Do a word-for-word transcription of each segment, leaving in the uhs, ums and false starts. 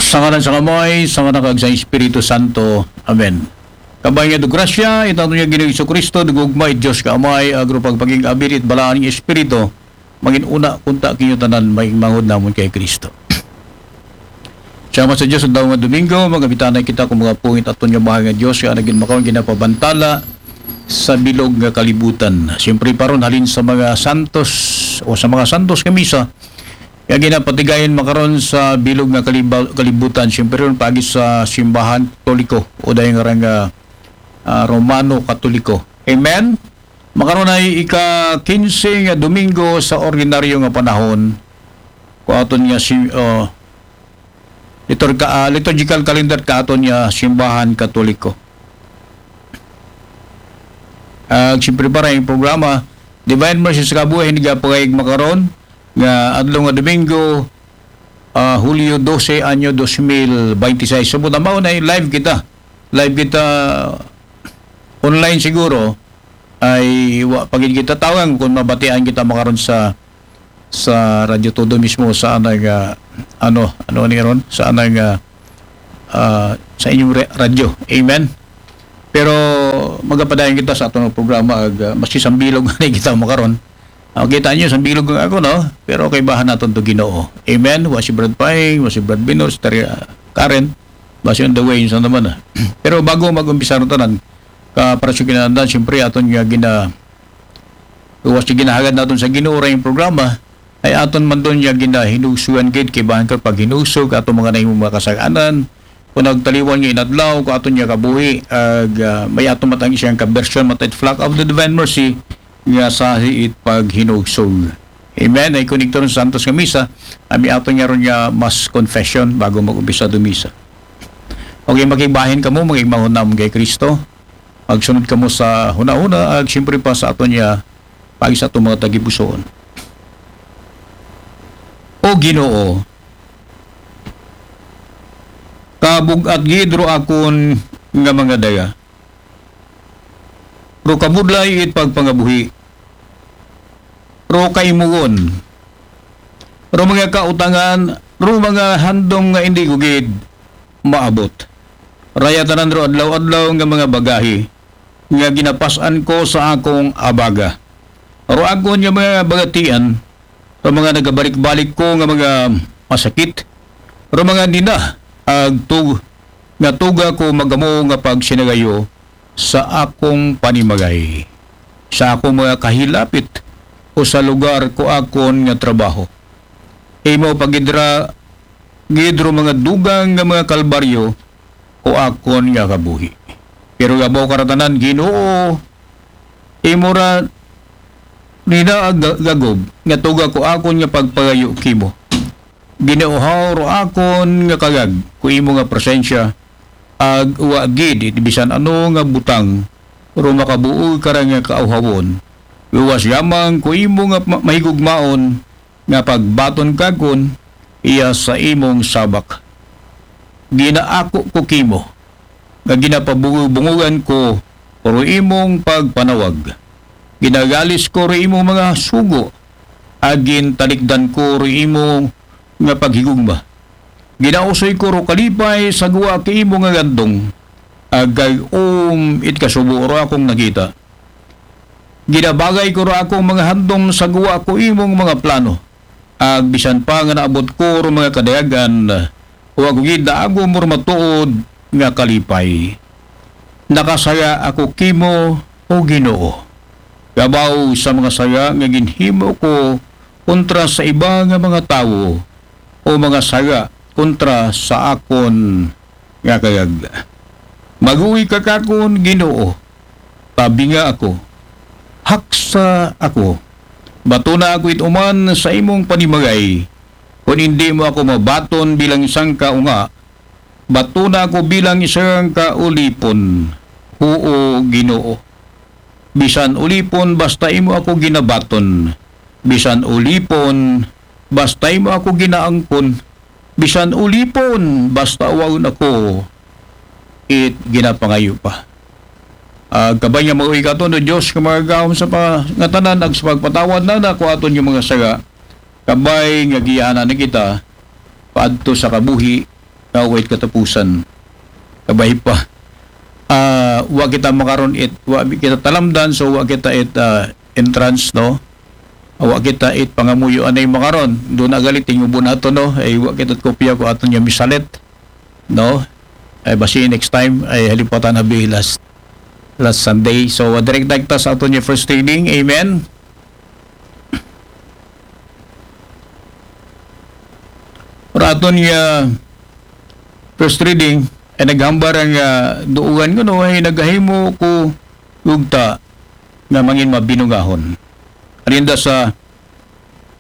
Sa ngalan sa Amay, sa Anak, kag sa Espiritu Santo. Amen. Kabay nga do grasya, it aton nga Ginoong Jesu-Cristo, do gugma it Dios nga Amay, agro pagpakig-abid it Balaan nga Espiritu, mangin-una kunta kinyo tanan, maigmanghod namon kay Cristo. Salamat sa Dios, adlaw nga Domingo, magabitanay kita kung mga pungit aton nga Mahal nga Dios, nga nagin makaon ginapabantala sa bilog nga kalibutan. Siyempre, paron halin sa mga santos o sa mga santos nga misa, nga ginapatigayon makaron sa bilog nga kaliba-, kalibutan. Siyempre, ron paagi sa simbahan Katoliko o dahil nga rang, ah, ah, Romano Katoliko. Amen? Makaron ay ika-kinse nga Domingo sa ordinaryo nga panahon. Kung aton nga si, oh, liturga-, ah, liturgical calendar ka aton nga simbahan Katoliko. Ag siyempre para yung programa, Divine Mercy sa Kabuhi, hindi ka pagayag makaron, nga adlaw nga Domingo, ah, Hulyo dose, anyo dos mil baynte sais. So, buta mao na live kita. Live kita online siguro. Ay, wa pa gid kita tawang kung mabatian kita makaron sa, sa Radyo Todo mismo, sa anay nga, ano, ano ni ron? Sa anay nga, ah, sa inyong re-, radyo. Amen? Pero magapadayon kita sa atong programa, ag, ah, maski sambilog na kita makaron. Ah, kita nyo, sambilog nga ako, no? Pero kay bahan naton to Ginoo. Amen? Wa si Brad Paing, wa si Brad Binor, si Tari, ah, Karen. Basi on the way, sa naman, ah. Pero bago mag-umpisa ron tanan, ka para sa kinahanglan, siyempre, aton nga gina-, luwas nga ginahagad naton sa Ginoo ra yung programa, ay aton man doon nga ginahinugsugan gid, kay bahan ka paghinusog, aton mga nahimong mga kasaganan, kung nagtaliwan nga inadlaw, kung aton nga kabuhi, ag, ah, may aton matang isang kabersyon, matait flock of the Divine Mercy, nga sahi it paghinugsog. Amen. Ay connector sa Santos nga Misa, ami ato niya ron nga mas confession bago mag-umpisa do Misa. Okay, makigbahin kamo, makigmahon namon kay Kristo. Magsunod kamo sa huna-huna, ag siyempre pa sa ato niya, pag sa atong mga tagipusoon. O Ginoo, kabug-at gid ro akon nga mga daga. Ro kabudlay it pagpangabuhi. Ro kaimugon. Ro mga kautangan, ro mga handom nga indi gugid maabot. Raya tanan ro adlaw-adlaw nga mga bagahi nga ginapas-an ko sa akong abaga. Ro akon nga mga bagatian, ro mga nagabalik-balik ko nga mga masakit, ro mga nina, ag tug-, nga tuga ko magamo nga pagsinagayo sa akong panimagay, sa akong mga kahilapit, o sa lugar ko akon nga trabaho. Imo pagidra gid ro mga dugang nga mga kalbaryo ko akon nga kabuhi. Pero gabaw karatanan, Ginoo, imo ra nina ag-, gagob nga tuga ko akon nga pagpagayo kimo. Ginauhaw ro akon nga kagag ko imo nga presensya, ag wa gid iti bisan ano nga butang ro makabuog kara nga kauhawon. Luwas yamang ko imo nga ma-, mahigugmaon nga pagbaton kakon iya sa imong sabak. Ginaako ko kimo nga ginapabungog-bungogan ko ro imong pagpanawag. Ginagalis ko ro imong mga sugo, agin talikdan ko ro imo nga paghigugma. Ginausoy ko ro kalipay sa guwa ki imo nga gandong, agay um it kasubo ro akong nakita. Ginabagay ko ro akong mga handom sa guwa ko imong mga plano. Ag bisan pa nga naabot ko ro mga kadayagan, wa ko gid naagom ro matuod nga kalipay. Nakasaya ako kimo, O Ginoo. Gabaw sa mga sala nga ginhimo ko kontra sa iba nga mga tawo, o mga sala kontra sa akon nga kagag. Maguhi ka kakon, Ginoo, tabinga ako, haksa ako. Batona ako it uman sa imong panimagay. Kon indi mo ako mabaton bilang sangka unga, batona ako bilang isang kaulipon. Huo, Ginoo. Bisan ulipon basta imo ako ginabaton. Bisan ulipon basta imo ako ginaangkon. Bisan ulipon basta awaon ako it ginapangayo pa. Ag kabay nga maguhi katon, O Dios, nga magagahom sa pangatanan, ag sa pagpatawad na nako aton nga mga sala. Kabay nga giyaanan na kita paadto sa kabuhi nga way katapusan. Kabay pa. Ah, wa kita makaron it, wa kita talamdan, so wa kita it, ah, entrance, no? Wa kita it pangamuyo anay makaron. Duna gali, tingubo nato, no? Ay, wa kita kopya ko aton nga misalit, no? Ay, basi next time, ay, halipatan na bi last, last Sunday. So, uh, direct kita sa aton nga first reading. Amen. Para aton nga first reading, ay naghambal ang, ah, duugan kuno, ay nagahimo ko ugta nga mangin mabinugahon. Arinda sa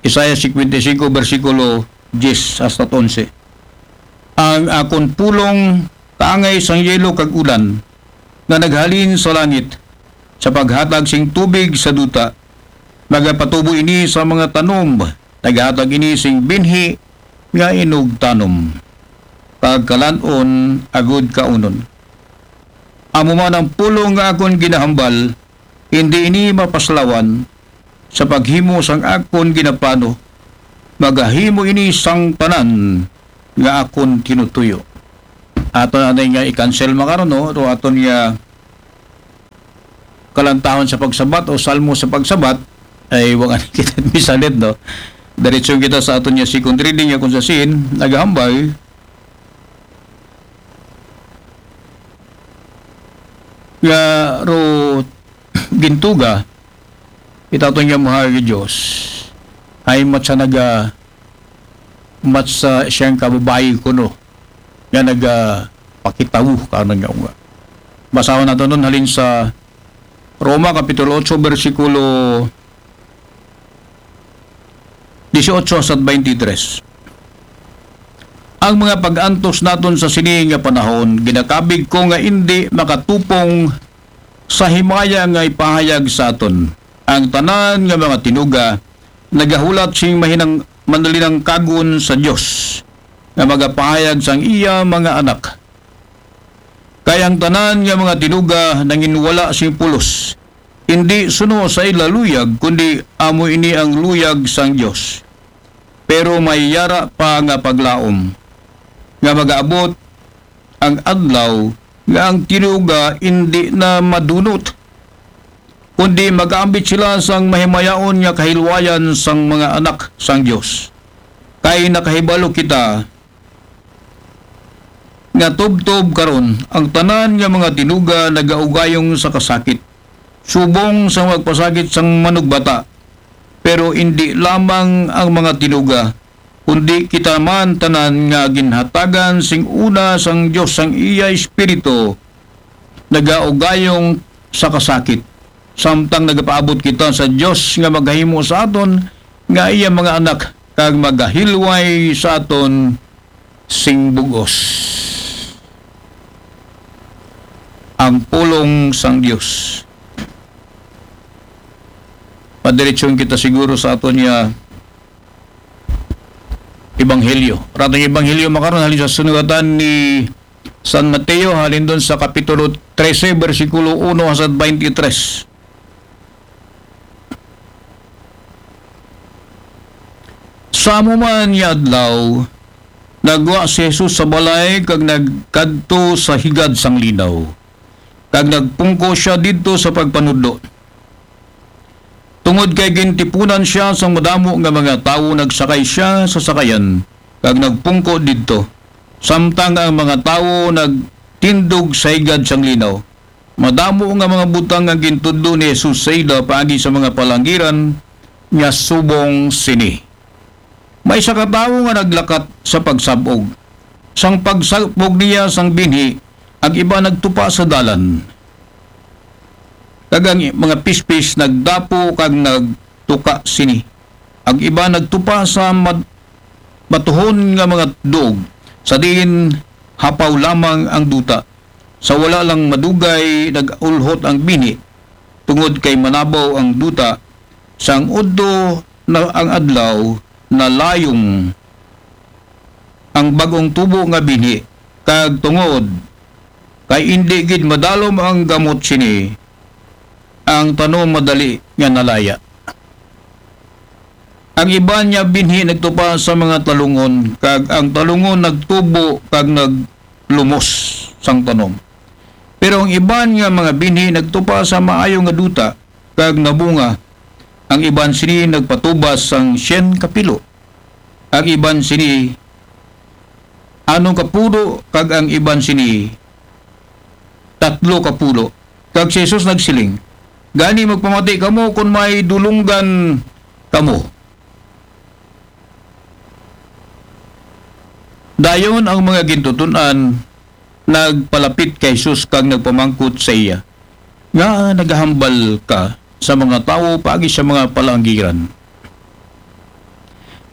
Isaiah fifty-five, bersikulo diyes hasta onse. Ang akon pulong kaangay sang yelo kag ulan, nga naghalin sa langit, sa paghatag sing tubig sa duta. Nagapatubo ini sa mga tanom, naghatag ini sing binhi nga inugtanom, kag kalan-on agud kaunon. Amo man ang pulong nga akon ginahambal, hindi ini mapaslawan sa paghimo sang akon ginaplano, magahimo ini sang tanan nga akon tinutuyo. Aton anay nga i-cancel makaron, no? Ro aton nga kalantahon sa pagsabat o salmo sa pagsabat, ay wa kita misalit, no? Diretso kita sa aton nga second reading, nga kung sa sin, nagahambal nga ro gintuga, itaton nga mahal nga Diyos, ay matsa naga, matsa siyang kababayi kuno, nga naga pakitaw, kano nga nga. Basahon nato nun halin sa Roma, Kapitulo otso, bersikulo disiotso hasta twenty-three. Ang mga pag-antos naton sa sini nga panahon, ginakabig ko nga indi makatupong sa himaya nga ipahayag sa aton. Ang tanan nga mga tinuga nagahulat sing mahinang manlinangkagon sa Dios nga magapahayag sang iya mga anak. Kay ang tanan nga mga tinuga nanginwala sing pulos, indi suno sa ila luyag, kundi amo ini ang luyag sang Dios. Pero may yara pa nga paglaom nga magaabot ang adlaw nga ang tinuga indi na madunot, kundi magaambit sila sang mahimayaon nga kahilwayan sang mga anak sang Dios. Kay nakahibalo kita nga tubtob karon ang tanan nga mga tinuga nagaugayong sa kasakit, subong sa magpasakit sang manugbata. Pero indi lamang ang mga tinuga, kundi kita man tanan nga ginhatagan sing una sang Dios sang iya Espiritu, nagaugayong sa kasakit, samtang nagapaabot kita sa Dios nga maghimo sa aton nga iya mga anak, kag magahilway sa aton sing bug-os. Ang pulong sang Dios. Padiretsyon kita siguro sa aton nga ebanghelyo. Ratong ebanghelyo makaron halin sa sunugatan ni San Mateo, halin dun sa Kapitulo trese, bersikulo uno hasta twenty-three. Sa amo man nga adlaw, nagwa si Jesus sa balay kag nagkadto sa higad sang linaw, kag nagpungko siya didto sa pagpanudlo. Tungod kay gintipunan siya sang madamo nga mga tawo, nagsakay siya sa sakayan kag nagpungko didto. Samtang ang mga tawo nagtindog sa higad sang linaw, madamo nga mga butang nga gintudlo ni Jesus sa ila paagi sa mga palangiran nga subong sini. May isa ka tawo nga naglakat sa pagsab-og. Sang pagsab-og niya sang binhi, ang iba nagtupa sa dalan, kag ang mga pispis nagdapo kag nagtuka sini. Ang iba nagtupa sa mad-, matuhon nga mga duog, sa diin hapaw lamang ang duta. Sa wala lang madugay, nag-ulhot ang binhi, tungod kay manabaw ang duta. Sang udto na ang adlaw, nalayong ang bag-ong tubo nga binhi, kag tungod kay indi gid madalom ang gamot sini, ang tanom madali nga nalaya. Ang iban nga binhi nagtupa sa mga talungon, kag ang talungon nagtubo kag naglumos sang tanom. Pero ang iban nga mga binhi nagtupa sa maayo nga duta, kag nabunga. Ang iban sini nagpatubas sang syen ka pilo, ang iban sini anom ka pulo, kag ang iban sini tatlo ka pulo. Kag si Jesus nagsiling, "Gani magpamati kamo kon may dulunggan kamo." Dayon ang mga gintuton-an nagpalapit kay Jesus kag nagpamangkot sa iya, "Ngaa nagahambal ka sa mga tawo paagi sa mga palaanggiran?"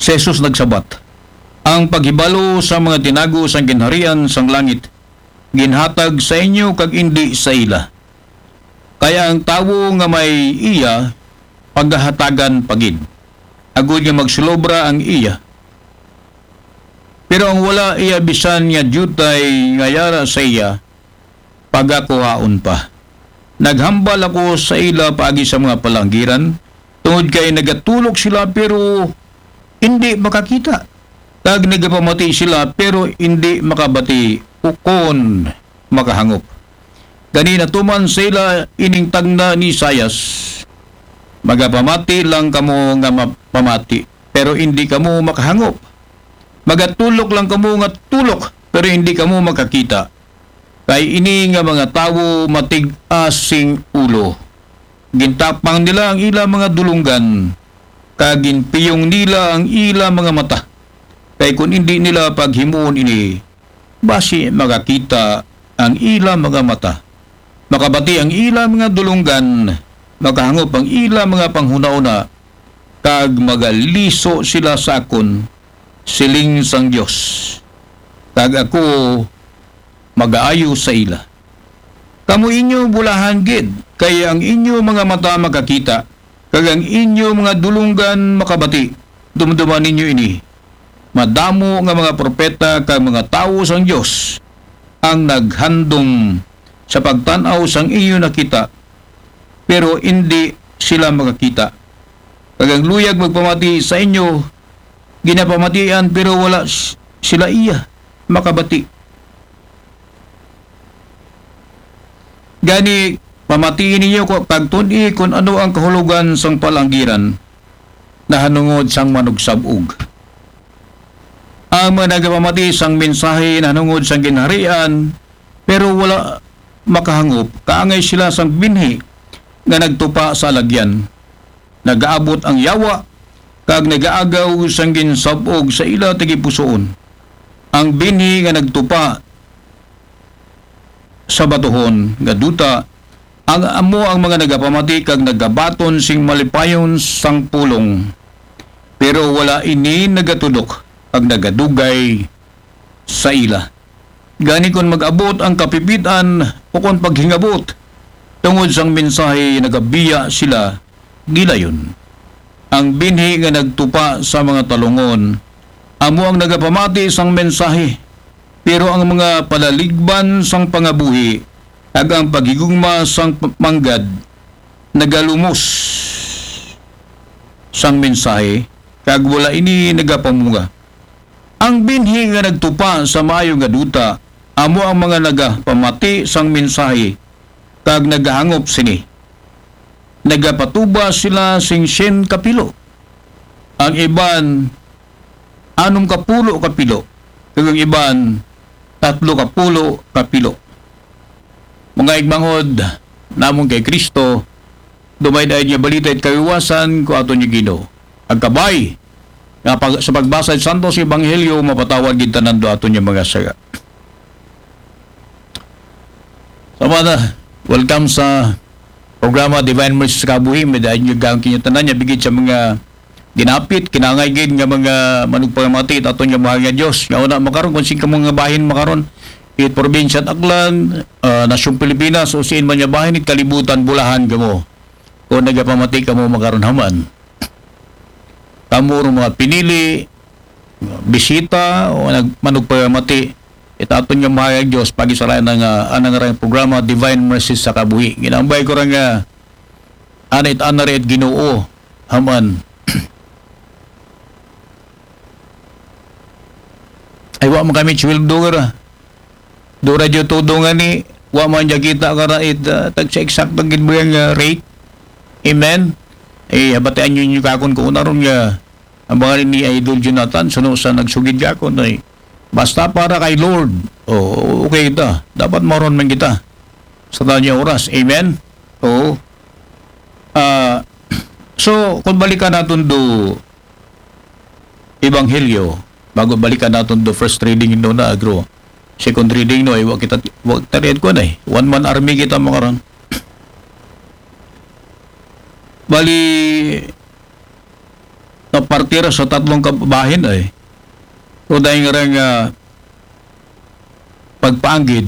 Si Jesus nagsabat, "Ang paghibalo sa mga tinago sang ginharian sang langit ginhatag sa inyo kag indi sa ila. Kay ang tawo nga may iya, pagahatagan pa gid, agod nga magsulobra ang iya. Pero ang wala iya bisan nga diutay nga yara sa iya, pagakuhaon pa. Naghambal ako sa ila paagi sa mga palaanggiran, tungod kay nagatulok sila pero indi makakita, kag nagapamati sila pero indi makabati ukon makahangop. Gani natuman sa ila ining tagna ni Isaias, 'Magapamati lang kamo nga mapamati, pero indi kamo makahangop. Magatulok lang kamo nga tulok, pero indi kamo makakita. Kay ini nga mga tawo matig-a sing ulo. Gintapang nila ang ila mga dulunggan, kag ginpiyong nila ang ila mga mata. Kay kun indi nila paghimuon ini, basi makakita ang ila mga mata, makabati ang ila mga dulunggan, makahangop ang ila mga panghunahuna, kag magaliso sila sa akon, siling sang Dios. Kag ako magaayo sa ila. Kamo inyo bulahan gid, kay ang inyo mga mata makakita, kag ang inyo mga dulunggan makabati. Dumduman ninyo ini. Madamo nga mga propeta kag mga tawo sang Dios ang naghandom sa pagtan-aw sang inyo nakita, pero indi sila makakita. Kag ang luyag magpamati sa inyo, ginapamatian, pero wala s-, sila iya makabati. Gani, pamatii ninyo ko kag tun-i kun ano ang kahulogan sang palanggiran nahanungod sang manugsab-og. Ang mga nagapamati sang mensahe nahanungod sang ginharian, pero wala makahangop, kaangay sila sang binhi nga nagtupa sa alagyan. Nagaabot ang yawa, kag nagaagaw sang ginsab-og sa ila tagipusoon. Ang binhi nga nagtupa sa batuhon nga duta, ang amo ang mga nagapamati kag nagabaton sing malipayon sang pulong. Pero wala ini nagatudok kag nagadugay sa ila. Gani kon mag-abot ang kapipit-an o kon paghingabot tungod sang mensahe, nagabiya sila gilayon. Ang binhi nga nagtupa sa mga talungon, amo ang nagapamati sang mensahe, pero ang mga palaligban sang pangabuhi kag ang paghigugma sang p-, manggad nagalumos sang mensahe, kag wala ini nagapamunga. Ang binhi nga nagtupa sa maayo nga duta, amo ang mga nagapamati sang mensahe, kag nagahangop sini. Nagapatuba sila sing syen ka pilo. Ang iban, anom ka pulo ka pilo. Kag ang iban, tatlo ka pulo ka pilo. Mga igmangod namon kay Kristo, dumay-day nga balita it kawiwasan ko aton nga Ginoo. Ang kabay nga pag-, sa pagbasa it Santos Ebanghelyo, mapatawad gid tanan do aton nga mga sala. Sama na, welcome sa programa Divine Mercy sa Kabuhi. May dahil nyo gawin kinyo tanan niya, bigit sa mga ginapit, kinangay gid nga mga manugpamati, it aton nga mahal nga Diyos. Nga una, makaron, kung sing kamo nga bahin makaron, it probinsya at Aklan, ah, nasyong Pilipinas, o siin man nga bahin, it kalibutan, bulahan kamo. Kung nagapamati kamo makaron haman. Kamo ro mga pinili, bisita, o nag-, manugpamati, it aton nga mahal nga Diyos, pagisalayan na nga, anang rang programa, Divine Mercy sa Kabuhi. Ginambay ko ra nga, ana it ana ra it Ginoo, haman. Iwa man kami sweldo kara. Do radyo todo nga ni, wa man dya kita kara it, ah, tag sa eksakto gid ba nga rate. Amen? Eh, habatian nyo nyo kakon ko unaron nga, ang mga ni Idol Jonathan, suno sa nagsugid kakon, ay, basta para kay Lord, o, okay ta. Dapat maron man kita sa tanya oras. Amen? Oo. Ah, so, kung balikan natin do Ebanghelyo, bago balikan natin do first reading no na agro. Second reading no, ay wa kita, wa kita rin ko na eh. One man army kita mga ron. Bali, napartira sa tatlong kabahin ay. O dahil nga rin nga pagpaanggid,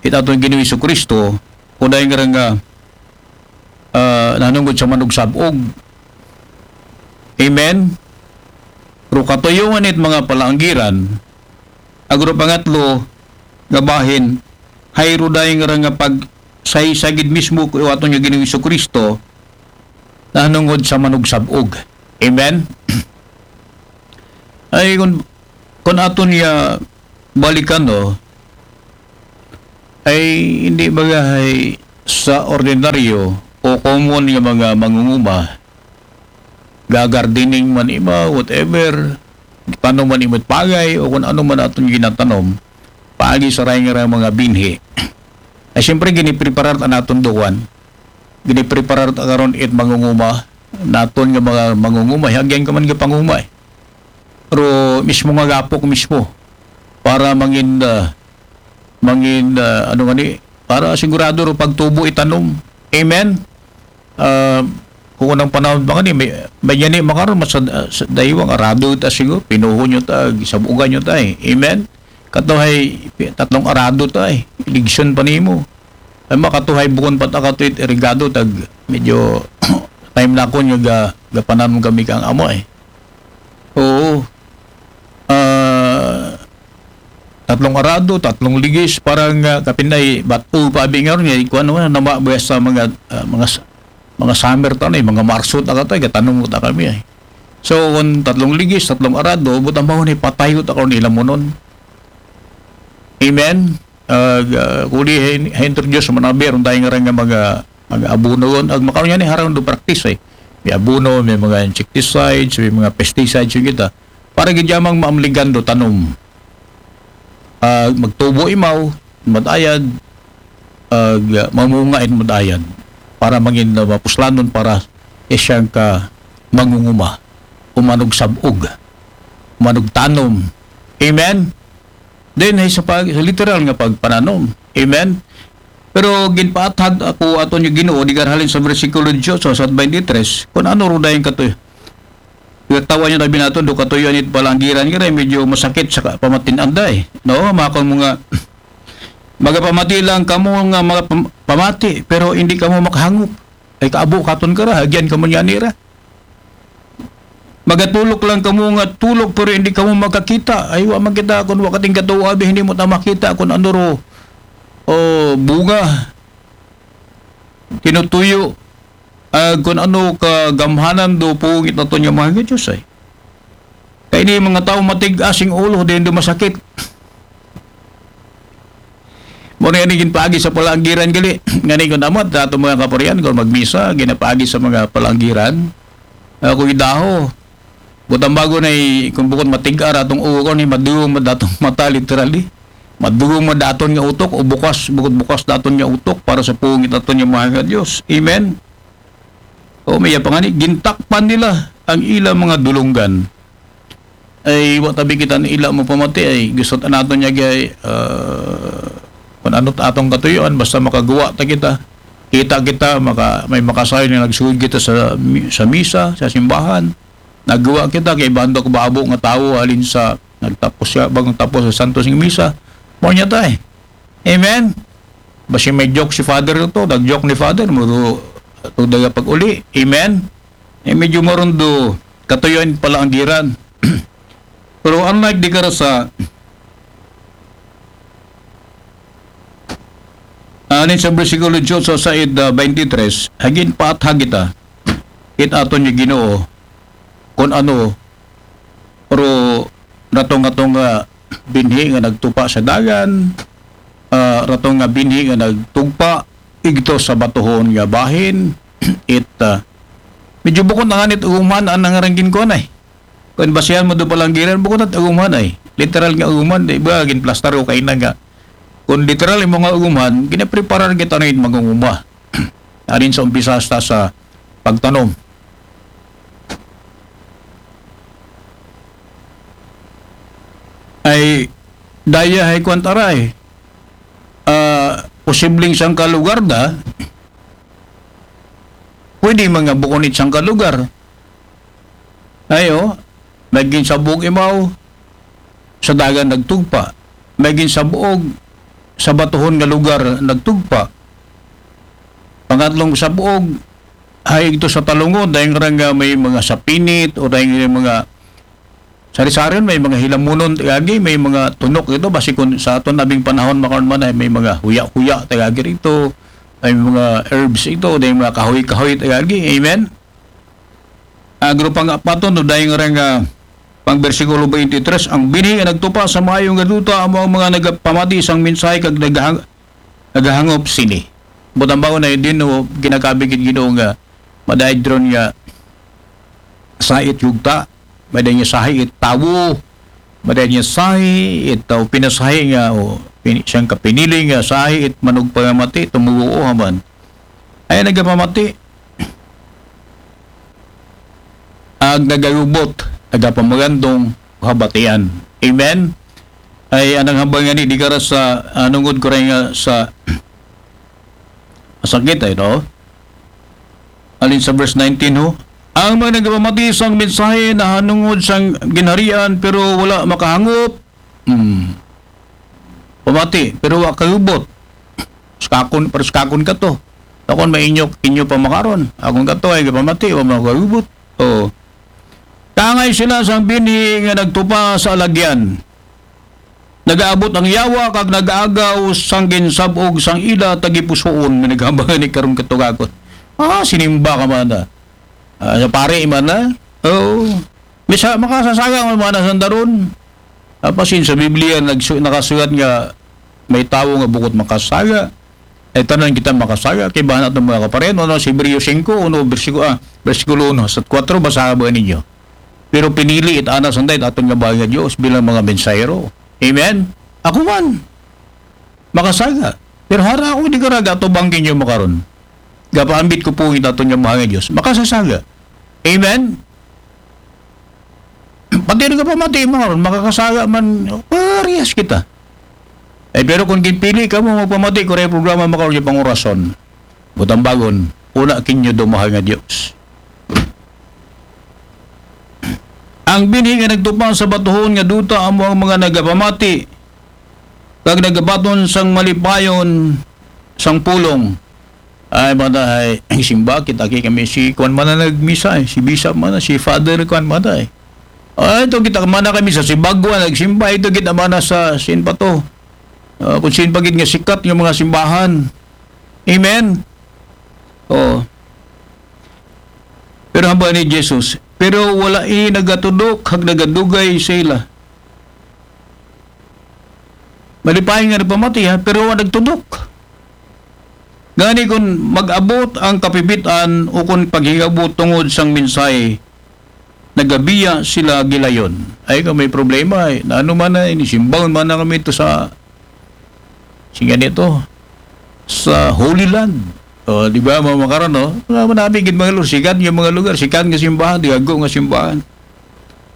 it aton Ginoong Hesus Kristo, o dahil nga rin nga, ah, nanungod sa manugsabog. Amen? Pero katuyuan it mga palaanggiran, agro pangatlo, nga bahin, hayro dahil nga rin nga pag saysagid mismo ko aton nga Ginoong Hesus Kristo, nanungod sa manugsabog. Amen? Ay, kung, kung aton nga balikan, no, ay hindi bagay sa ordinaryo o common nga mga mangunguma, gagardening man ima, whatever, tanom man ima't pagay, o kung ano man aton ginatanom, paagi sa ray nga mga binhi. Ay, siyempre, ginipreparar ta naton duwan. Ginipreparar ta karon it mangunguma, naton nga mga mangunguma, hagyan ka man nga panguma eh. Pero mismo nga gapok mismo, para mangin, ah, mangin, ah, ano nga ni, para sigurado ro pagtubo itanom. Amen? Ah, kung unang panahon pa nga ni, may, may yan eh, makaroon, mas, ah, sa daywa nga arado ta siguro, pinuho nyo ta, gisabugan nyo ta eh. Amen? Katuhay, pi-, tatlong arado ta eh. Iligson pa nimo. Ay, makatuhay bukon pa ta katuit irigado, tag medyo time na ako nyo ga, gapananom kami kang amo eh. Oo. Ah, tatlong arado, tatlong ligis, parang, ah, kapinay, bato pa abi nga ron, eh, kuwan naman, nama, sa mga, ah, mga, mga summer ta na eh, mga Marso ta ka ta, gatanom ta kami eh. So, kung tatlong ligis, tatlong arado, butang bahon eh, patay ko ta karon ilamunon. Amen? Ag, ah, kuli ha-, ha-introduce man abi, aron tayo nga rin nga mga, mga abono yun. Ag makaroon yan eh, harang do practice eh. May abono, may mga insecticides, may mga pesticides yung kita. Para gid yamang maamligan do tanom. Ag magtubo imaw, madayad, ag, ah, mamunga in madayad. Para mangin na mapuslanon para isyang ka mangunguma. Umanog sabog. Umanog tanom. Amen? Then, ay sa, pag, sa literal nga pagpananom. Amen? Pero ginpaathag ako aton yung Ginoo, di halin sa bersikulo eighteen sa, sa twenty-three, kung ano ro dayon katoy. Tawa niyo tabi nato, do katuyo anit palanggiran nga rin, medyo masakit sa ka-, pamatin-an day. No? Makon mo nga, magapamati lang kamo nga mga pam-, pamati, pero hindi kamo makahangop. Ay kaabo katon ka ra, hagyan kamo niya nira. Magatulok lang kamo nga tulok, pero hindi kamo makakita. Ay, wa man kita, kung wa kating katuwa, abi, hindi mo ta makita kung ano ro, o, bunga. Tinutuyo. Ah, kung ano kagamhanan do pungit na to niya mga Diyos ay. Kaya ni mga tao matig-asing ulo, din do masakit. Muna yan, ginpaagi sa palanggiran gali. Nga ni kung amat, dato mga kaparian, kung magmisa, ginapaagi sa mga palanggiran. Ako idaho. Butang bago na i-, kung bukod matigar atong ulo ko, ni madugo mo datong mata, literally. Madugo mo daton nga utok, o bukas, bukod bukas daton nga utok para sa pungit aton nga mga Diyos. Amen? O, may pa nga ni, gintakpan nila ang ilang mga dulunggan. Ay, wa tabi kita ni ila mo pamati, ay, gusto ta naton niya, gay, ah, kung ano ta atong katuyuan, basta makagawa ta kita. Kita kita, maka-, may makasayo na nagsugod kita sa mi-, sa misa, sa simbahan. Nagawa kita, kay bando ka babo nga tawo, halin sa, nagtapos siya, bagong tapos sa Santos ng Misa. Mo niya tayo. Amen? Basi may joke si Father to, nag-joke ni Father, mo to, to daga pag-uli. Amen? Eh, medyo marundo, katuyoan pala ang giran. Pero unlike di kara sa, anin sa bersikulo eighteen sa said, ah, twenty-three, hagin paathag kita, it aton yung Ginoo, kung ano, pero natong-atong nga binhi nga nagtupa sa dagan, ah, rato nga binhi nga nagtugpa igto sa batuhon nga bahin. It, ah, medyo bukod na nga nit uguman ang nangarang ginkuan ay. Kung basihan mo do palanggiran, bukod na uguman ay. Literal nga uguman, di ba? Ginplastar ko kayo na nga. Kung literal yung mga uguman, ginapreparar kita na yung mag-uguma. Arin sa umpisa hasta sa pagtanom. Ay, daya ay kwantaray. Ah, posibleng siyang kalugar da, pwede mga bukon it siyang kalugar. Ayo, may ginsabog imaw, sa dagan nagtugpa. May ginsabog, sa batuhon nga lugar nagtugpa. Pangatlong sabog, hay ito sa talungon, dahil nga nga may mga sapinit, o dahil nga mga sari-sarin, may mga hilamunon, tagagi, may mga tunok ito, basi kung sa aton abing panahon, makaroon man ay may mga huya-huya, tagagi rito, may mga herbs ito, dahil mga kahoy-kahoy, tagagi. Amen? Agro pang apaton, no, dahil nga nga, pang bersikulo twenty-three, ang binhi nga nagtupa sa maayo nga duta, amo ang mga nagapamati sang mensahe kag naghang-, naghahangop sini. Butang bago na yun din, no, ginakabigit Ginoo nga, madahil dron nga, sa it yugta, madahil niya sahi it tawo, madahil niya sahi it tao, pinasahi nga, o, pin-, siyang kapinili nga, sahi it manugpamati, tumuo haman. Ay nagapamati, ag nagagubot, nagapamagandong, habatian. Amen? Ay, anang hambal nga ni, di ka ra sa, ah, nungod ko rin nga sa, masakit ay, no? Alin sa verse nineteen, ho? Ang mga nagapamati sang mensahe na hanungod sang ginharian, pero wala makahangop. Hmm. Pamati, pero wa kagubot. Skakon, pero skakon ka to. Takon mainyo, inyo pa makaron. Akon ka to ay pamati, wa makagubot. Oh. Tangay sila sang binhi nga nagtupa sa alagyan. Nagaabot ang yawa kag nagaagaw sang ginsab-og sang ila tagipusoon nga naghambagan ni karong katugagon. Ah, sinimba ka man na. Ah, sa pare man na. Oo. Misa, makasasaga man man na sandaron. Apasin sa Biblia, nagsu-, nakasulat nga may tawo nga bukod makasaga. Ay tanan kita makasaga. Kay bahan atong mga kaparen, ano, sa Hebreo singko, uno, bersikulo, ah, bersikulo uno, sa kwatro, basaha ba ninyo? Pero pinili it ana sanday it aton nga bahal nga Dios bilang mga mensahero. Amen? Ako man, makasaga. Pero hara ako, di ka raga to bangkin nyo makaron. Gapaambit ko po it aton nga bahal nga Dios. Makasasaga. Amen? Pati rin ka pamati makaron, makakasaga man, parehas kita. Eh, pero kung ginpili ka mo, magpamati ko rin programa makaron yung pangurason. Butambagon, una kinyo do mahal nga Dios. Ang binhi nga nagtupa sa batuhon nga duta amo ang mga nagapamati, kag nagabaton sang malipayon sang pulong. Ay, mata, ay, simba kita kay kami si kuan man na nagmisa, eh, si Bishop man na, si Father kuan man na, eh. Ay, ito kita man na kami sa Sibagwa, nagsimba, ito kita man na sa, sin pa to? Ah, kung sin pa gid nga sikat nga mga simbahan. Amen? Oh. Pero hambal ni Jesus, pero wala ini nagatudok, hag nagadugay sa ila. Malipay nga nagpamati, ha, pero wa nagtudok. Ngani kun mag-abot ang kapibit-an o kun paghingabot tungod sang mensahe, nagabiya sila gilayon. Ay, kung may problema, eh, na ano man na, inisimbahan man na kami ito sa, sige nito, sa Holy Land. O, di ba, mga makaron, no? Wala man namin gid mga lugar, sikat nga mga lugar, sikat nga simbahan, di ako nga simbahan.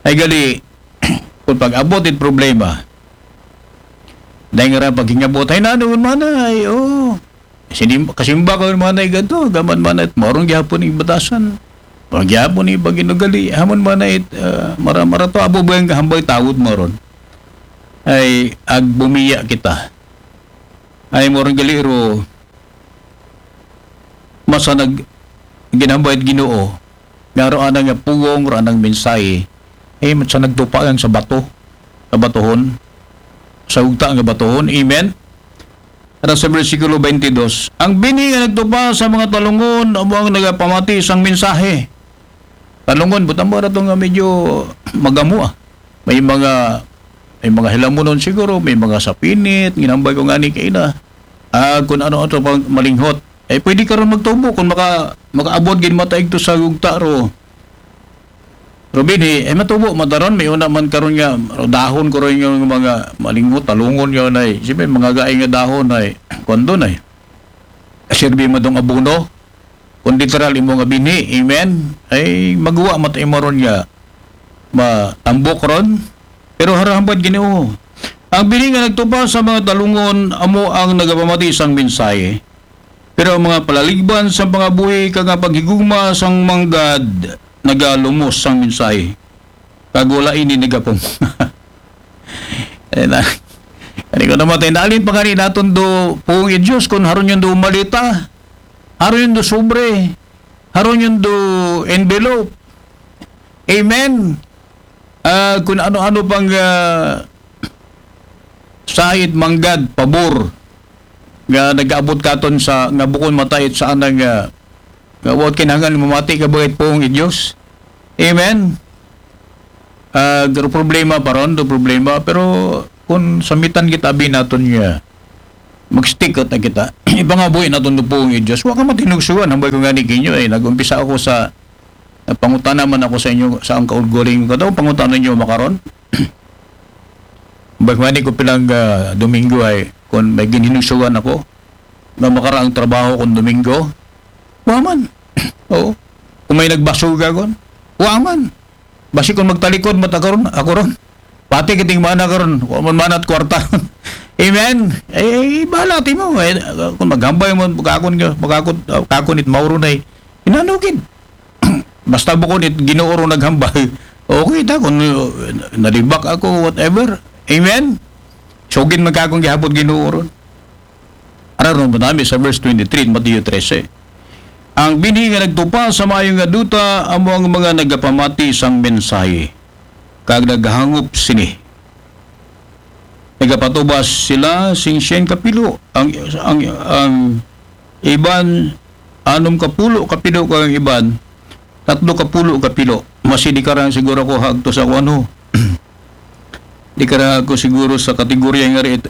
Ay, gali, kung pag-abot it problema, dahil nga rin paghingabot, ay, nanuon man na, ay, oh. Sinim-, kasimba ka man na, ay, ganito, gaman man na, it, morong gihapon yung batasan. Morong gihapon yung pag-inugali, hamon man na, it, ah, mara-, mara to, abo ba yung kahambay tawod mo ron? Ay, agbumiya kita. Ay, morong gali ro, masa nag-, ginambay it Ginoo, nga ro anang nga pugong, ro anang mensahe, ay, sa nagtupa lang sa bato, sa batuhon, sa ugta nga batuhon. Amen? Ara sa bersikulo twenty-two, ang bini nga nagtupa sa mga talungon, amo ang nagapamati sang mensahe. Talungon, butang mo ra to nga medyo magamo, ah. May mga, May mga hilamunon siguro, may mga sapinit, ginambay ko nga ni kaina. Ah, kung ano-ano pang malinghot. Eh, pwede ka ron magtubo kung maka, makaabot gid mataig to sa gugta ro. Robin, eh, eh, matubo, madaron, may una man karon nga, dahon ko rin yung mga malinghot, talungon yun ay, siyempre, mga gaay nga dahon ay, kuwan doon ay, sirbi mo dong abono, kung literal imo nga binhi, amen, ay, maguwa, matay mo ron nga, matambok ron, pero harahambad Ginoo. Ang binhi nga nagtupa sa mga talungon, amo ang nagapamati sang mensahe. Pero ang mga palaligban sa pangabuhi kag nga paghigugma sang manggad nagalumos sang mensahe. Kag wala ini nagapum. Ay na. Ani ko naman tayo, naalin pa gani naton do pong i Diyos kung haron yun do malita, haron yun do sobre, haron yun do envelope. Amen. Ah, kung ano-ano pang ah, sait manggad, pabor, nga nag-abot katon sa, nga bukon matait sa anang, nga, nga wa kinahanglan mamati ka bagay pong i Diyos. Amen? Ah, pero problema pa ron, do problema, pero kung samitan kita, abi naton nga, mag-stick out na kita. Ipangabuhi naton do pong i Diyos. Wa ka matinugsugan, hambay ko nga ni kinyo, eh, nag-umpisa ako sa, nagpangutana man ako sa inyo, sa ang kaulguling ko daw, pangutana ninyo makaron. Bagmani ko pilang ah, Domingo ay, kung may ginhinusugan ako, na makaraang trabaho kung Domingo, wa man. Oo. Kung may nagbasuga kon, wa man. Basi kung magtalikod, mata karon, ako ron. Pati kiting mana karon, wa man manat kwarta ron. Amen. Eh, eh, bahala ti mo. Eh, kung maghambay mo, magkakon, magkakon, kakon it mauro na eh. Inanugid. Basta bukon it Ginoo ro naghambal. Okay ta kung uh, nalibak ako, whatever. Amen? Sugid man ka akong gihapot Ginoo ron. Ara ron ba nami sa verse twenty-three, Mateo trese. Ang binhi nga nagtupa sa maayo nga duta, amo ang mga nagapamati sang mensahe, kag naghangop sini. Nagapatubas sila sing siyen ka pilo. Ang, ang, ang iban, anom ka pulo ka pilo, kag ang iban, tatlo ka pulo ka pilo. Masi di karang siguro ko hagto sa kuwan ho. Di karang ako siguro sa kategorya nga rin.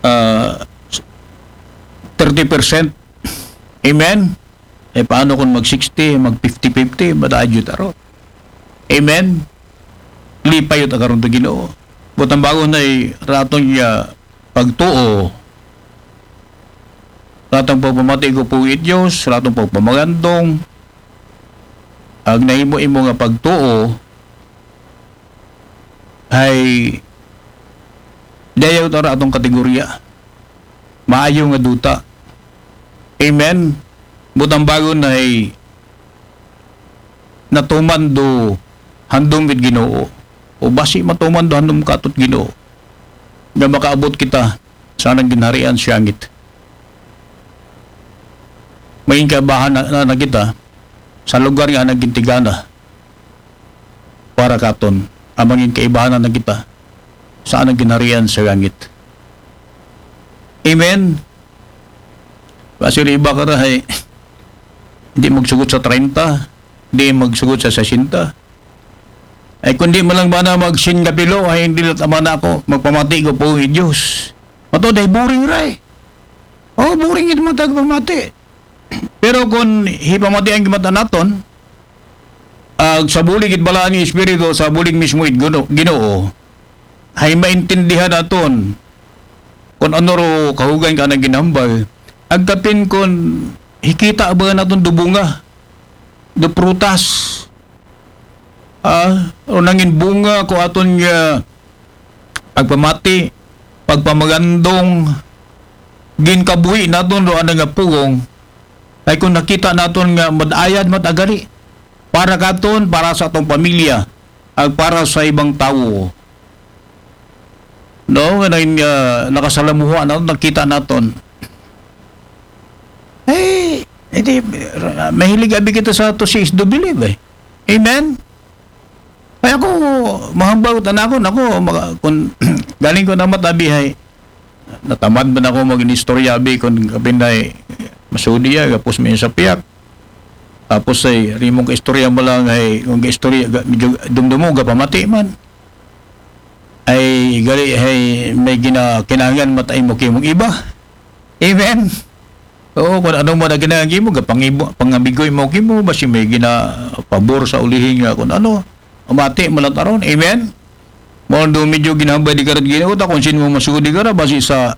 Ah, thirty percent. Amen? Eh, paano kung mag sixty, mag fifty fifty, madayot aro. Amen? Lipay yun, karon to Ginoo. Butang bago na eh, raton niya pagtuo. Ratong pagpamati ko po it Diyos, ratong pagpamagandong. Ang nahimo-imo nga pagtuo, ay dayaw tara atong kategorya. Maayo nga duta. Amen. Butang bago na ay natuman do handom it Ginoo. O basi matuman do handom katot Ginoo. Nga makaabot kita sa anang ginharian sa langit. May kabahan na, na, na kita sa lugar nga anang gintigana para katon. Ang mangin kaibahanan na kita sa anang ginharian sa langit. Amen. Kasi yung iba ka rahay, hindi magsugot sa treinta, hindi magsugot sa sesenta. Ay kundi malang ba na magsin kapilo, ay hindi na tama na ako, magpamati ko po yung Diyos. Mato, dahil boring ray. Oh, boring ito matag pamati. Pero kung hipamati ang gimata naton, ag sa bulig it balaan nga Espiritu, sa bulig mismo it Gino-, Ginoo, hay maintindihan naton kung ano ro kahugan ka na ginambal. Agkapin kung hikita ba naton do bunga, do prutas, ah, o nangin bunga ko aton nga pagpamati, pagpamagandong, ginkabuhi naton do ana nga pugong, ay kung nakita naton nga madayad matagali para katon, para sa atong pamilya, ag para sa ibang tawo. No, nga naging, ah, nakasalamuha naton, nakita naton. Eh, hindi, mahilig abi kita sa to see is to believe eh. Amen? Ay ako, mahambaw tanakon ako, maka, kung galing ko na matabihay, natamad man ako mag-inistorya abi kung kapinday masudi ya, gapos may sa piyak. Tapos ay rimong ka istorya mo lang ay kung ka istorya ga- medyo dumdumo gapamati man. Di gali hay may gina-, kinahanglan mata imo kimo og iba. Amen. Oo, kun ano man ang kinahanglan kimo, gapangibo-, pangabigoy mo kimo, basi may ginapabor sa ulihi nga kun ano. Umati man lang ta ron. Amen. Mao do medyo ginahambal di kara Ginoo, ta kun sin-o masugod di kara, basi sa,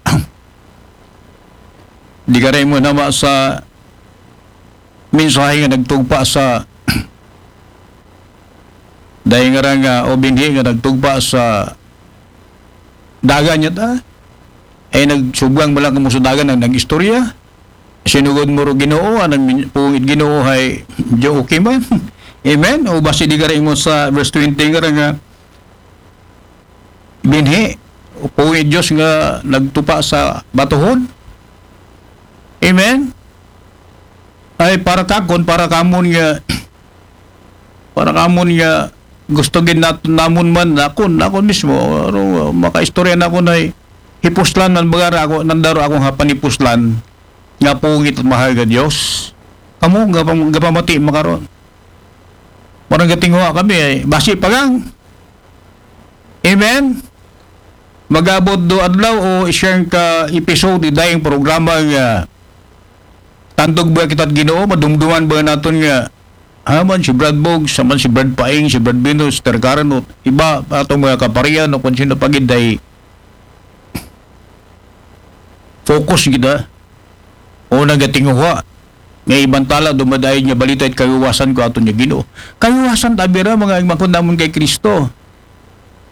di kara imo nama sa mensahe nga nagtugpa sa, dahil nga ra nga, o binhi nga nagtugpa sa dagan niya ta. Ay nagsubgang mo lang kamo sa dagan ang nag-istorya. Sinugod mo ro Ginoo, anang min-, pungit Ginoo hay, medyo okay man. Amen? O basi di kara imo sa verse twenty nga ra nga, binhi, o pungit Diyos nga nagtupa sa batuhon. Amen? Ay para kakon, para kamon nga, para kamon nga gusto gid nat-, namon man, nakon, nakon mismo, aro, makaistorya na ako na hipuslan man baga ra ako, nandaro akong hapan hipuslan, nga pungit at mahal nga Diyos. Kamo, gapam-, gapamati makaron. Parang gatinguha kami ay, basi pa lang. Amen? Magabot do adlaw o isang ka episode ni dayang programa nga tandog ba kita Ginoo, madumduman ba naton nga, ha, man si Brad Boggs, man si Brad Paing, si Brad Venus, Ter Karen, o iba, atong mga kaparian, o kung sino pa gid, ay focus kita. O nagatinguha. Nga ibantala, dumadayon niya balita it kayuwasan ko aton niya Ginoo. Kayuwasan, tabi ra, mga igmangkod namon kay Kristo.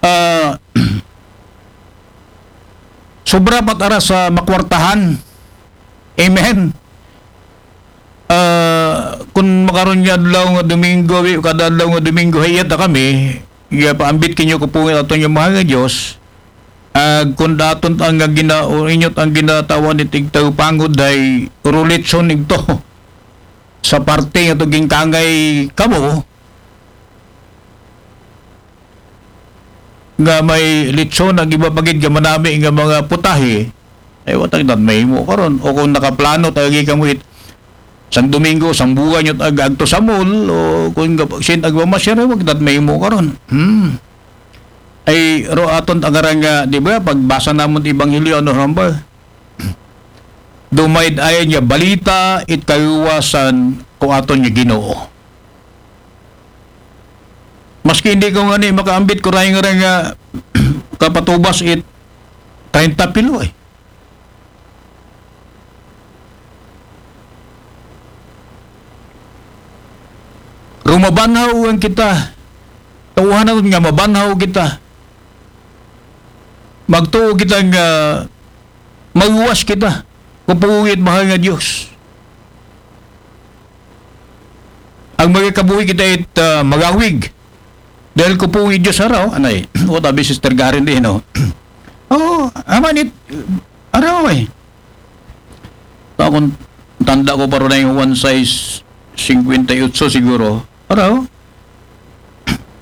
Ah, sobra pat ara sa makwartahan. Amen. Ah, kun makaron nga adlaw nga Domingo, wi, kada adlaw nga Domingo, hayat na kami, ya paambit kinyo ko pungit aton nga mahal nga Diyos. Ag kun daton ang nga gina-, o inyot ang ginatawan ni tigtaw pangod ay rulitson igto. Sa parte nga to ginkangay kamo, nga may litson ang iba pagid nga manami nga mga putahe, ay watag dat mahimo karon. O kung nakaplano ta agi kamo it sang Domingo, sang buwan yun ag-, agto sa mall, o kung gap-, sin agmamasyar, ay wag dat mahimo karon. Hmm. Ay, ro aton tagaran nga, di ba, pagbasa namon Ebanghelyo, ano, ramba? Dumaid ayon nga balita, it kayuwasan ko aton nga Ginoo. Maski hindi ko nga ni makaambit ko rin nga rin nga kapatubas it treinta pilo eh. Rumabanhaw ang kita. Tauhan naton nga mabanhaw kita. Magtuo kita nga maluwas kita. Kupugit mahal nga Diyos. Ang magkabuhi kita it, ah, magawig. Dahil kupugit Diyos araw, anay. What abi Sister Garen din, no? Oh, aman it, araw eh. Akong tanda ko pa ron na yung one size cinquenta y ocho siguro. Araw?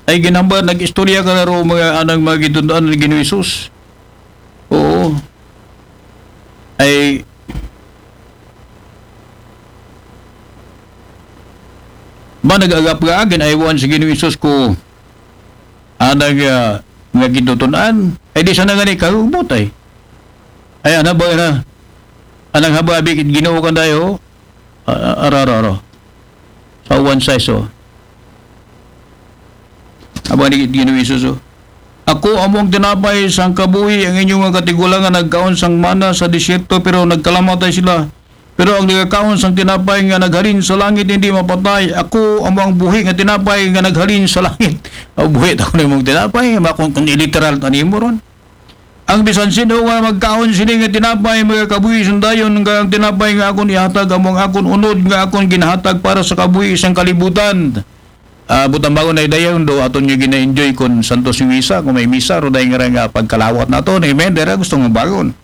Ay ginamba, nag-istorya ka na ro mga anang mga gitundaan ni Ginoong Jesus. Oo. Ay, ba nag-agap ka akin, ay wan si Ginoong Jesus ko, anang, ah, mga gitundaan. Ay di sana nga ni kahubot ay. Ay, ana ba na? Anang haba abik Ginoo ka dayo? Ah, ara, ara, ara. Sa one size, oh. Aba ni Ginoong Jesus, oh. Ako amo ang tinapay sang kabuhi, ang inyong mga katigulangan nagkaon sang mana sa disyerto, pero nagkalamatay sila. Pero ang nagakaon sang tinapay nga naghalin sa langit hindi mapatay. Ako amo ang buhi nga tinapay nga naghalin sa langit. Ang buhi ta ko na imong tinapay, makon kung iliteral ta nimo ron. Ang bisan sino nga magkaon sini nga tinapay, magakabuhi sang dayon, nga ang tinapay nga akon ihatag, amo ang akon unod nga akon ginahatag para sa kabuhi sang kalibutan. Ah, butang bago na dayon do, aton nga gina-enjoy kon Santos nga misa, kung may misa, ro dahil nga ra nga pagkalawat naton. Amen. Dira gusto nga bagon.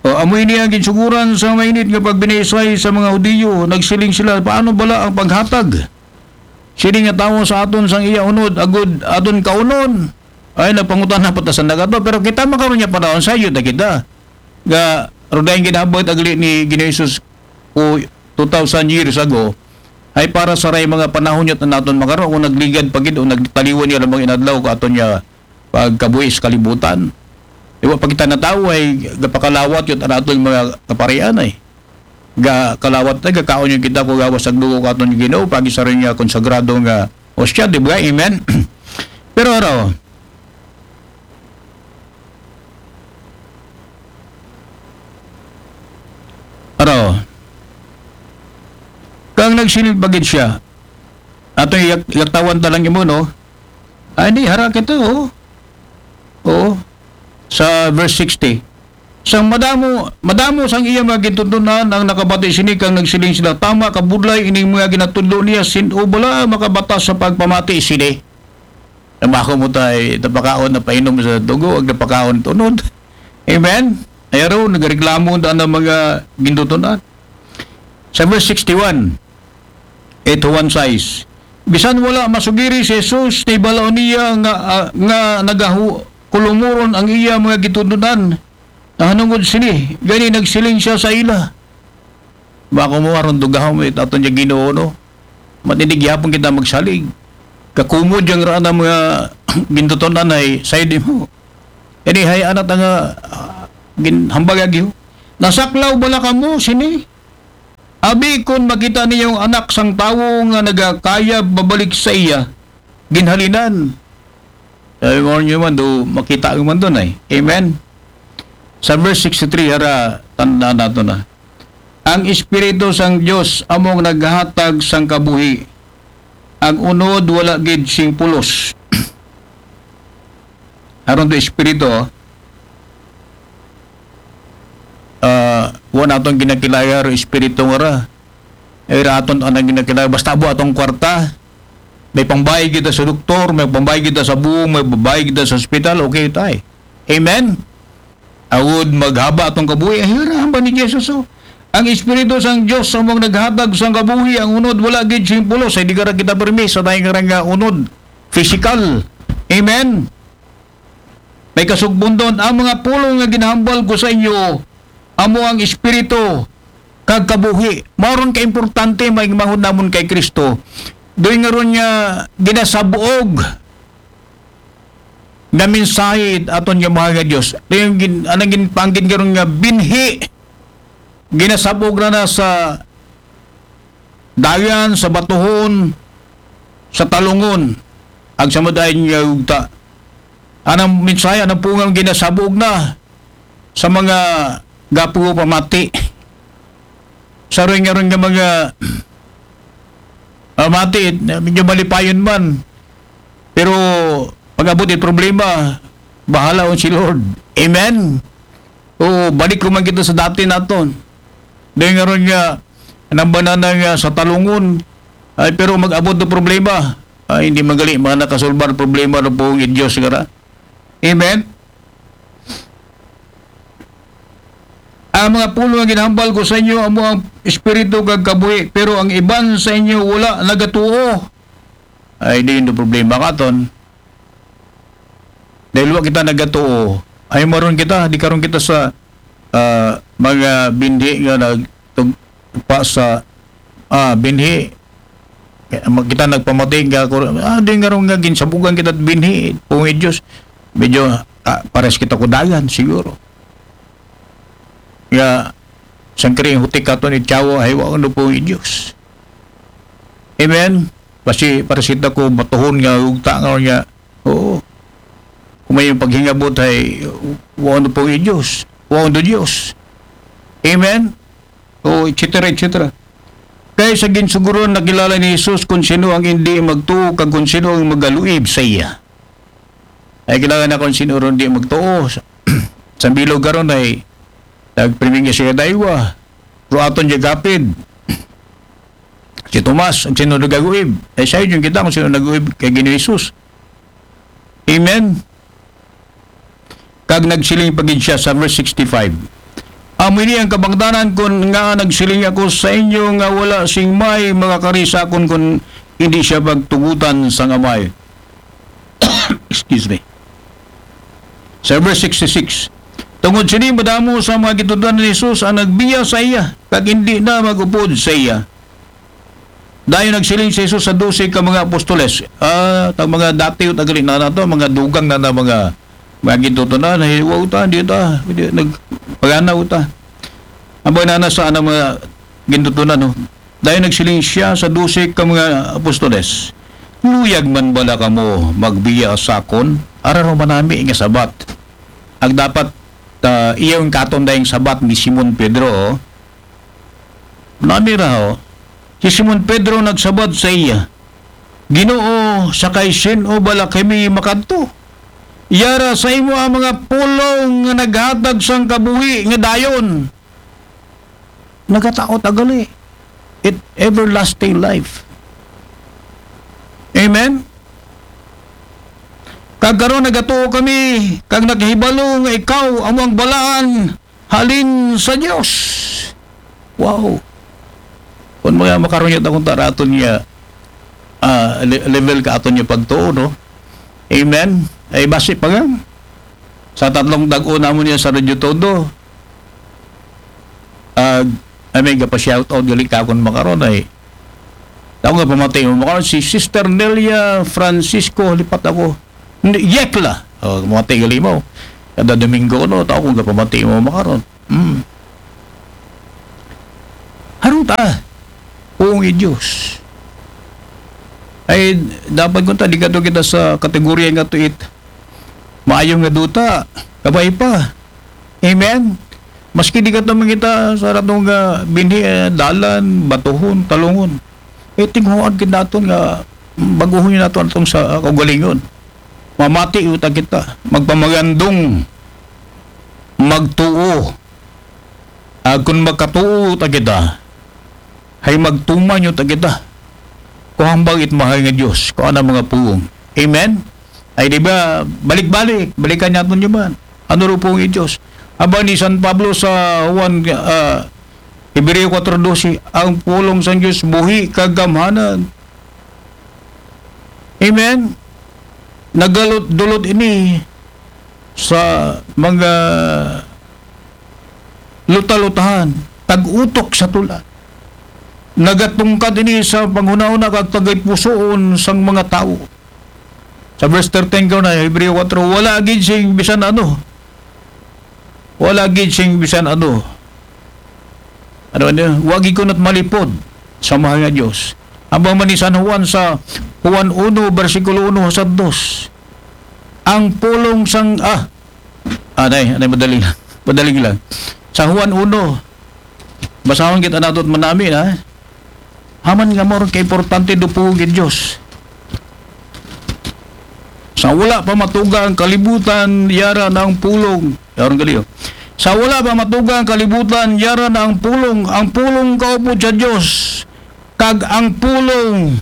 O, amoy niya ang ginsuguran sa mainit nga pagbinaysay sa mga Hudiyo. Nagsiling sila, "Paano bala ang paghatag sini nga tawo sa aton sang iya unod, agud aton kaunon?" Ay, nagpangutana pa ta sa nagato. Pero kita makaroon niya panahon, sayo na kita. Nga, ro dahil ginahabot agli ni Ginoong Jesus ko two thousand years ago, ay para sa ray mga panahon niya naton makaroon, kung nagligad pa gid o nagtaliwan niya lamang inadlaw ko aton niya pagkabuhi sa kalibutan. Di ba, pag kita na tao ay gapakalawat yun ang aton mga kaparian ay. Gakalawat na, gakaon yun kita kung gawas ang dugo katon yung Ginoo, pag isa rin nga konsagrado nga o siya, di ba? Amen? Pero ano, ano, kang nagsiling pagid siya, ato yak-, yaktawan talang imo, no? Ay, di, hara kita, oh. Oo. Sa verse sixty. Sang madamo, madamo sang iya mga gintutunan ang nakabati sini kang nagsiling sila, "Tama ka budlay ining mga ginatudlo niya, sin-o bala makabata sa pagpamati sini?" Nabako mo tay, napakaon na painom sa dugo, ag napakaon tunod. Amen? Ay, araw, nagreklamo na ang mga gintutunan. Sa verse sixty-one, eight to one size. Bisan wala masugiri si Jesus, nibalaw niya nga, ah, nga nagahu-, kulumuron ang iya mga gitudunan. Nahanungod sini, gani nagsiling siya sa ila. Bako mo aron dugahon mo it aton niya Ginoo, no? Matindi gihapon kita magsalig. Kakumod yang raan ang mga gintutunan ay sayo di mo. Ini hay anat nga, ah, ginhambag agyo. Nasaklaw bala kamo sini? Abi kon makita niyo ang anak sang tawo nga nagakayab babalik sa iya, ginhalinan. Sabi mo niyo man, do makita mo man doon ay. Amen? Sa verse sixty-three, hara, tanda nato na. Ang Espiritu sang Dios among naghatag sang kabuhi. Ang unod wala gid sing pulos. Aron to Espiritu, oh. Ah, wa naton ginakilaya ro Espiritu nga ra. Ay ra aton anang ginakilaya. Basta abo atong kwarta. May pambayad kita sa doktor, may pambayad kita sa buong, may pambayad kita sa ospital, okay tay. Amen? Awod maghaba atong kabuhi, ay hirahan ba ni Jesus, oh? Ang Espiritu sang Dios sa mong naghatag sang kabuhi, ang unod wala gid sing pulos, ay di ka ra kita permi sa tayo nga unod. Physical. Amen? May kasugpon doon, ang mga pulong nga ginahambal ko sa inyo, amo ang Espiritu, kag kabuhi. Mao ron ka importante, may mahod namon kay Kristo. Doon nga ron nga ginasabuog nga mensahe aton nga mahal nga Dios. Ito yung gin-, anang ginpanggit nga ron nga binhi. Ginasabog na na sa dagan, sa batuhon, sa talungon, ag sa madayon nga ugta. Anang mensahe, anang pungang ginasabog na sa mga gapu pamati. Sa rin nga rin nga mga, ah, mati, medyo malipayon man. Pero pag-abot yung problema, bahala on si Lord. Amen? Oo, balik ko man kita sa dati naton. Dahil nga ron nga, nang banana nga sa talungon, ay, pero mag-abot ng problema, ay, hindi magali, mga nakasolbar problema ng buong Diyos nga ra. Amen? Ang mga pulo nga ginahambal ko sa inyo, amo ang espiritu kag kabuhi, pero ang iban sa inyo wala nagatuo. Ay, di yun problema katon. Dahil wa kita nagatuo, ay maron kita, di karon kita sa, ah, mga binhi nga nagtugpa sa, ah, binhi. Kaya mag-, kita nagpamati nga, ah, di nga ron nga ginsabugan kita binhi, pungit Diyos. Medyo, ah, pares kita kudagan, siguro. Nga, sangkring hutik katon ni Tiyawo, ay, wa, ano po, Diyos. Amen? Kasi, para sita ko, matuhon nga, ugta nga niya, oo. Kung may paghingabot, ay, wa, ano po, Diyos. Wa, ano, Diyos. Amen? O, et cetera, et cetera. Kay sa ginsuguron, nakilala ni Jesus kung sino ang hindi magtuo, kag kung sino ang magaluib sa iya. Ay, kilala na kung sino ron di magtuo. Sa, sa bilog karon ay, nagprimingya siya daywa. Pero aton di gapid. Si Tomas, ang sino nagaguib. Ay, sayo yung kita kung sino naguib kay Ginoong Jesus. Amen? Kag nagsiling pa gid siya sa verse sixty-five. Amo ini ang kabangdanan kun nga nagsiling ako sa inyo nga wala sing may makakari sa akon kun hindi siya pagtugutan sang Amay. Excuse me. Sa verse sixty-six, tungod sini madamo sa mga gitudan ni Jesus ang nagbiya sa iya, kag hindi na magupod sa iya. Dayon nagsiling si Jesus sa dose ka mga apostoles, ah, tang mga dati o tagali na nato, mga dugang na na mga, mga gintutunan, nahiwa uta, di ta, di, nagpagana uta. Ang mga nana sa anang mga gintutunan, no? Dayon nagsiling siya sa dose ka mga apostoles, "Luyag man bala kamo magbiya sa akon? Ara ro manami nga sabat." Ang dapat, ah, iyong katon dayong sabat ni Simon Pedro, oh. Nami ra, oh. Si Simon Pedro nagsabat sa iya, "Ginoo, sa kay sin-o bala kami makadto? Yara sa imo ang mga pulong nga naghatag sang kabuhi nga dayon." Nagataot agali. It everlasting life. Amen? Kag karon nagatuo kami, kag nakahibalo nga ikaw amo ang balaan halin sa Dios. Wow. Kung mga makarunyot akong taraton niya, ah, le- level ka aton niya pagtuo, no? Amen? Ay basi pa nga. Sa tatlong dag-o namon niya sa Radyo Todo, ah, ay may gapa-shoutout gali ka akong makaron ay. Ako nga pamati mo makaron, si Sister Nelia Francisco, lipat ako. Hindi, Yekla. Oh, pamati gali mo. Kada Domingo, no, tao kong gapamati mo makaron. Hmm. Harong ta. Puong i Diyos. Ay, dapat kung ta, di ka to kita sa kategorya nga to it. Maayo nga duta. Kabay pa. Amen? Maski di ka to mangita sa ratong nga binhi, eh, dalan, batuhon, talungon. Eh, tinghuan kita aton nga baguhon nato atong sa kaugalingon. Mamati uta kita. Magpamagandong. Magtuo. Ah, kung magkatuo ta kita, hay magtuman yun ta kita. Kuhang bangit mahal nga Diyos, kuha na mga puong. Amen? Ay di ba, balik-balik, balikan niya yun man. Ano ro puong i Diyos? Aba ni San Pablo sa Juan, ah, Hebreo four doce, ang pulong sa Diyos, buhi, kagamhanan. Amen? Nagalot-dulot ini sa mga luta-lutahan, tag-utok sa tula. Nagatungkad ini sa panghunahuna kag tagay pusoon sang mga tawo. Sa verse thirteen ko na, Hebreo four, wala gid sing bisan ano. Wala gid sing bisan ano. Ano niya? Wa gid ko nat malipod sa mahal nga Diyos. Ang man ni San Juan sa Juan uno, bersikulo uno sa dos. Ang pulong sang, ah, anay, anay, madali lang. Madali lang. Sa Juan uno, basahon kita nato at manami na. Haman nga mo rin kaimportante do puhog in Diyos. Sa wala pa matuga ang kalibutan, yara na ang pulong. Yaron kaliyo. Sa wala pa matuga ang kalibutan, yara na ang pulong. Ang pulong kaupod sa Diyos. Kag ang pulong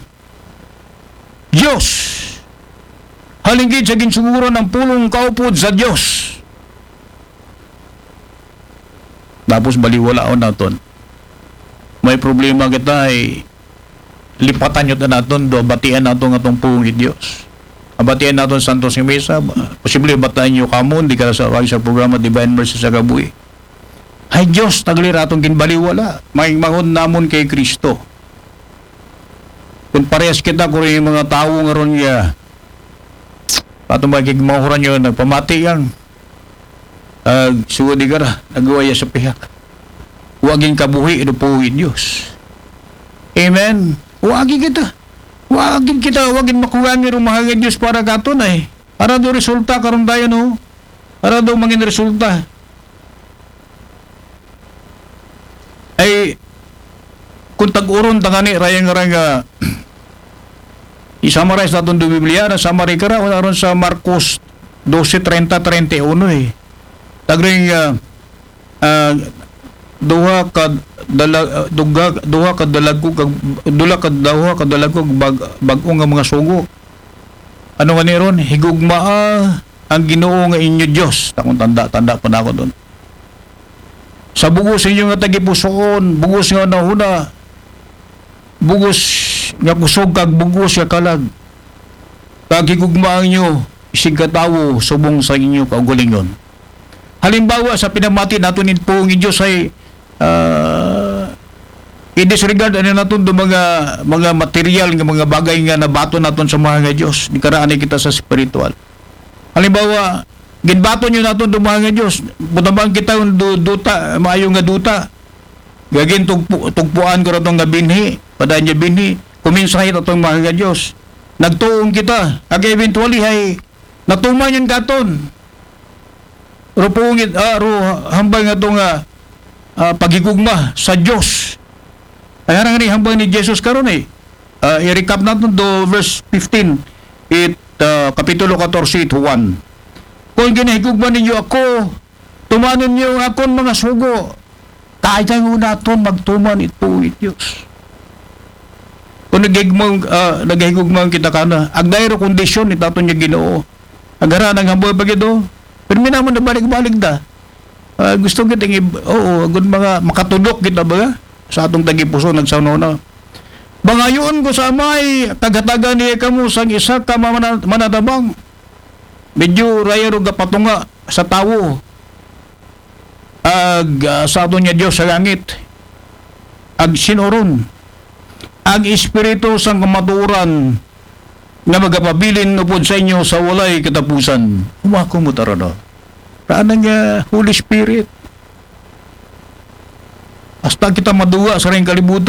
Diyos. Halinggid sa ginsuguran ang pulong kaupod sa Diyos. Tapos baliwalaon naton. May problema kita ay lipatan nyo ta naton, do batian naton nga tong pulong i Diyos. Abatian naton Santos nga Misa, posible batian nyo kamon, di ka sa, sa programa Divine Mercy sa Gabuhi. Ay Diyos, tagli ra atong ginbaliwala, maingmangon namon kay Kristo. Kung parehas kita, kung yung mga tawo nga ron nga, patong magigmahuran nyo, nagpamati yang, ag sugo di ka ra, nagawaya sa pihak. Wagin kabuhi, ino po in Diyos. Amen. Wagin kita. Wagin kita, wagin makuha ni rumahal nga Diyos para katon ay. Para do resulta, karon tayo, no? Para do mangin resulta. Ay, kung tag-uron tangani, rayang-rayang nga, i-summarize naton do Biblia, na summary ka ra, aron sa Marcos doce treinta, treinta y uno eh. Tagring, ah, ah, duha ka dala-, ah, duga-, duha ka dalagko kag, dula ka, duha ka dalagko kag bag-, bag-o nga mga sugo. Ano nga ni ron? Higugmaa ang Ginoo nga inyo Dios. Takong tanda, tanda pa na ako doon. Sa bugos inyo nga tagipusoon, bugos nga nahuna, bugos nga kusog kag bugos nga kalag. Kag higugmaan nyo, isig katawo, subong sa inyo kaugalingon. Halimbawa sa pinamati nato ni Pong Diyos ay, ah, i-disregard anay naton do mga, mga material nga mga bagay nga nabaton naton sa Mahal nga Dios. Di karaan kita sa spiritual. Halimbawa, ginbaton niyo naton do Mahal nga Dios. Butabang kita do duta, maayo nga duta. Gagin tugpu-, tugpuan ko raton nga binhi, padaan niya binhi. Kuminsahi atong Mahal nga Dios. Nagtuon kita. Ag eventually hay natuman yun katon. Ro pungit, ah, ro hambal nga to nga, ah, paghigugma sa Dios. Ay harang ni hambal ni Jesus karon eh. Ah, i-recap naton do verse fifteen, it, ah, kapitulo katorse, it Juan. Kung ginahigugma ninyo ako, tumanon niyo ang akon mga sugo. Kaya naton magtuman ito it Dios. Kung naghigmang, ah, naghigugmang kita kana, agday ro kondisyon ni taton niya Ginoo. Agara nang hambal pa gito. Pero minaman na balik-balik da. Ah, gusto kita ng ib-, oo, agud mga makatudok kita ba sa atong tagipuso nagsanona. Bangayon ko sa amay, kagatagan niya kamo sang isa ka mana-, manatabang. Medyo raya ro gapatunga sa tawo. Ag, ah, sa aton niya Dios sa langit. Ag sinuron. Ag espiritu sang kamatuoran nga magapabilin upod sa inyo sa walay katapusan. Umako mo tarada. Raan nga Holy Spirit. Hasta kita maduwa sa ring kalibutan.